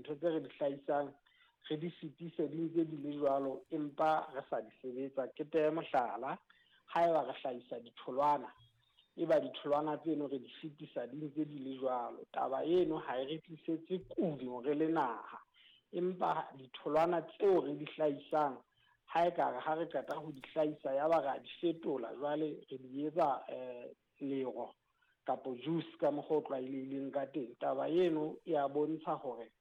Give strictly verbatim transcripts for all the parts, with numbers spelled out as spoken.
Dintho tse re di hlahisang re di fetise di ntse di le jwalo, empa re sa di sebetsa. Ke tehe mohlala, haeba re hlahisa ditholwana, eba ditholwana tseno re di fetisa di ntse di le jwalo, taba eno ha e re tlisetse kuno re le naha, empa ditholwana tseo re di hlahisang ha e ka re ha re qeta ho di hlahisa ya ba ra di fetola, jwale re di etsa eh lero kapo juice ka mokgwa o tlwaelehileng ka teng. Taba eno e a bontsha hore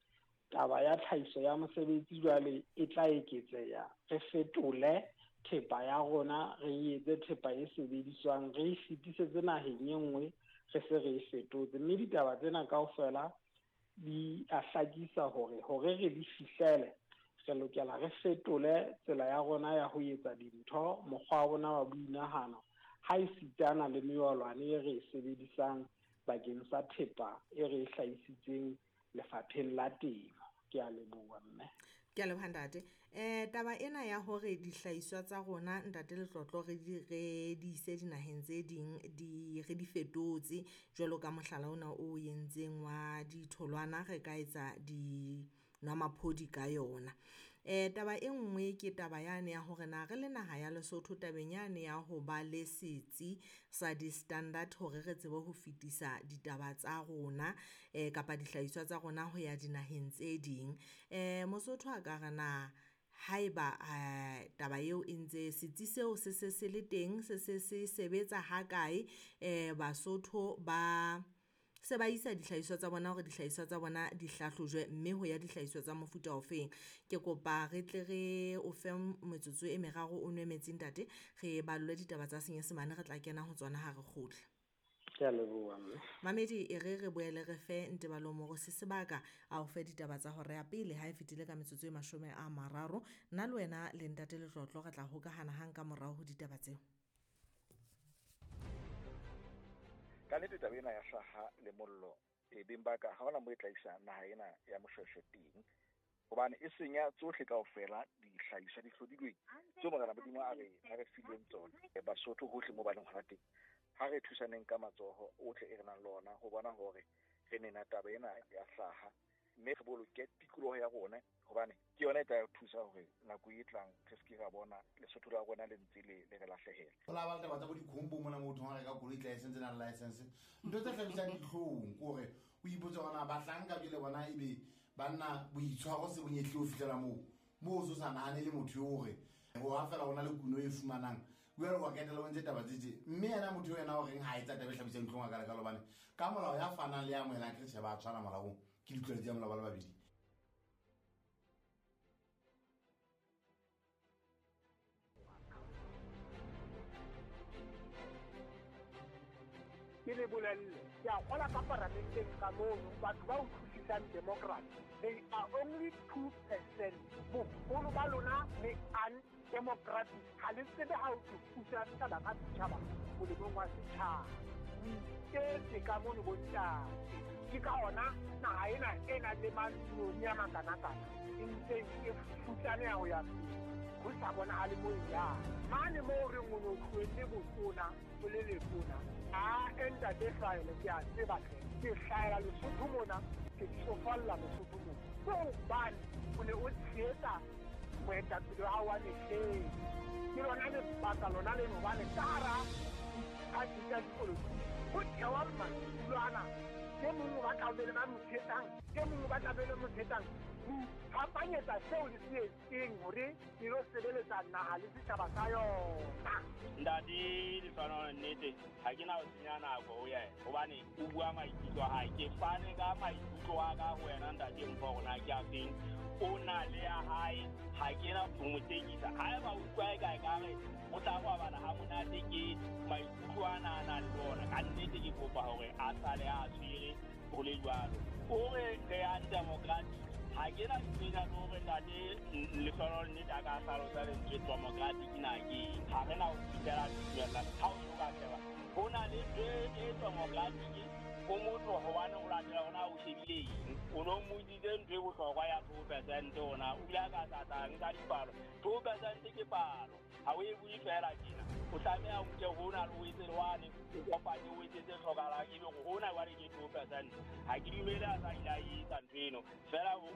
taba ya tlhahiso ya mosebetsi jwale e tla eketseha, re fetole thepa ya rona, re etse thepa e sebediswang, re e fetisetse naheng e nngwe re se re e fetotse. Mme ditaba tsena kaofela di a hlakisa hore hore re di fihlele re lokela re fetole tsela ya rona ya ho etsa dintho, mokgwa wa rona wa boinahano, ha e sitana le meolwane e re e sebedisang bakeng sa thepa e re e hlahisitseng lefapheng la temo. Ke a leboha mme. Ke a leboha ntate. Eh taba ena ya hore dihlahiswa tsa rona ntate Letlotlo re di re di ise dinaheng tse ding di re di fetotse jwalo ka mohlala ona o entseng wa ditholwana, re ka etsa di nwamaphodi ka yona. Eh taba e nngwe ke taba yane ya hore na re le naha ya Lesotho tabeng yane ya ho ba le setsi sa di-standard hore re tsebe ho fetisa ditaba tsa rona eh kapa dihlahiswa tsa rona ho ya dinaheng tse ding. Eh Mosotho a ka re na haeba eh taba eo e ntse setsi seo se se se le teng, se se se sebetsa ha kae, eh Basotho ba se ba isa dihlahiswa tsa bona hore dihlahiswa tsa bona di hlahlojwe mme ho ya dihlahiswa tsa mofuta ofeng. Ke kopa re tle re o fe metsotso e meraro o nwe metsi ntate, re ballwe ditaba tsa Senyesemane re tla kena ho tsona ha re kgutla. Ke a leboha mme. Mamedi e re re boele re fe Ntebalo Morosi sebaka a o fe ditaba tsa hora ya pele ha e fetile ka metsotso e mashome a mararo. Nna le wena le ntate Letlotlo re tla hokahana hang ka morao ho ditaba tseo. Ka nnete taba ena ya hlaha le mollo e beng ba ka ha hona moo e tla isa naha ena ya Moshweshwe teng, hobane e senya tsohle kaofela dihlahiswa di hlodilweng tseo Morena Modimo a re a re fileng tsona. Basotho hohle moo ba leng hona teng, ha re thusaneng ka matsoho ohle e re nang le ona ho bona hore re nena taba ena ya hlaha, mme re boloke tikoloho ya rona, hobane ke yona e tla re thusa hore nako e tlang re se ke ra bona Lesotho la rona le ntse le le re lahlehela. Ho la ba le taba tsa bo dikhombo mona motho ha reka koloi license na le license, ntho tse hlabisang dihlong ke hore o ipotse hore na bahlanka jwale bona ebe banna boitshwaro se bonyehle ho fihlela moo moo o so sa nahane le motho eo hore ho ha fela hona le kuno e fumanang jwale wa ketela o ntse taba tse tje, mme yena motho eo yena o reng ha etsa taba e hlabisang dihlong a ka lekalo, hobane ka molao ya fanang le ya amohelang ke tjhe ba tshwana molaong, ke ditlwaelo tsa molao ba le babedi. Ke le bolelle, ke a kgola ka paramenteng ka mono, batho ba utlwisisang democracy, they are only two percent. Boholo ba lona le undemocratic, ha le tsebe ha o thusa setjhaba ka setjhaba molemong wa setjhaba. O iketse ka mono bontate. Ke ka ona naha ena e nang le mantsione a makanakana e ntseng e futsaneha ho ya pele, ho sa bonahale moo e yang. Mane moo re o no tlohelle botona o le letona, a ntate hlahele ke a tseba hle, ke hlahela Lesotho mona, ke tsofalla Lesotho mona. Ke hobane o ne o tshehetsa moetapele wa hao wa mehleng. Ke lona lebaka lona leno hobane ka hara diphathi tsa dipolotiki ho thewa madulo ana, e mong o batla ho be le ba mo tshehetsang, e mong o batla be le mo tshehetsang. Ho iphapanyetsa seo le se etseng hore le lo sebeletsa naha le setjhaba sa yona. Ntate Lehlonolo, nnete ha ke na ho senya nako ho yena, hobane o bua maikutlo a hae. Ke fane ka maikutlo a ka ho wena ntate Mpho hore na ke a feng, o na le ya hae, ha ke na ho mo tekisa. Haeba o utlwa e ka ekare o tla robala ha monate ke maikutlo ana a nang le ona, ka nnete ke kopa hore a sale a tshwere ho le jwalo. O re re undemocratic, ha ke na tsela le hore ntate Lehlonolo nnete a ka hlalosa lentswe democratic na ke eng. Ha re na ho fihlela tumellano ha o so ka sheba ho na le ntho e democratic ho motho hobane o latela hore na o shebile eng. O no mmotsitse ntho e bohlokwa ya two percent hona o bile a ka sa tla nka dipalo. Two percent ke palo, ha o e bue feela tjena, o tlameha o nke hona le o etse le wane, o kopanye o etse tse hlokahalang, ebe hore hona jwale ke two percent. Ha ke dumele a sa ile a etsa ntho eno, feela o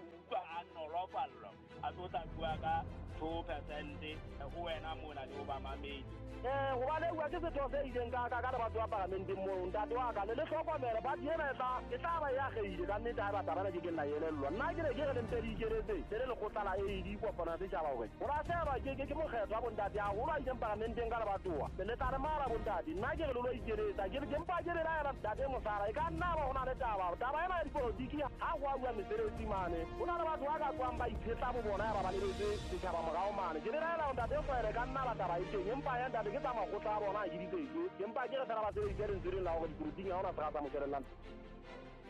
kgotsofallwa a tlo tla bua ka two percent ho wena mona le ho bamamedi. Eh hobane bua ke setho se ileng ka ka ka batho ba parlamenteng moo ntate wa ka le le hlokomele ba ena e tla e tla ba ya kgeile ka nnete ha ba taba ke ke nna elellwa nna ke ne ke re le mpe di ikeletse le le lekgotla la A D kopano ya setjhaba hore ho ra sheba ke ke ke mokgetho wa bontate haholo a ileng parlamenteng ka lebatowa le tla re mara bontate nna ke re le lo ikeletsa ke ke mpa ke le laela ntate Mosara e ka nna ba hona le taba taba ena ya dipolotiki ha go a bua mesebetsi mane ho na le batho ba ka tswang ba itshetla bo bona ya ba ba lebetse setjhaba morao mane ke le laela ntate Kgwele ka nna ba taba e teng empa ya ntate ke tsa makgotla a bona a ke ditsetse empa ke re fela ba sebedise lentswe leng la hore dipolotiking ha hona sera sa mokelellang.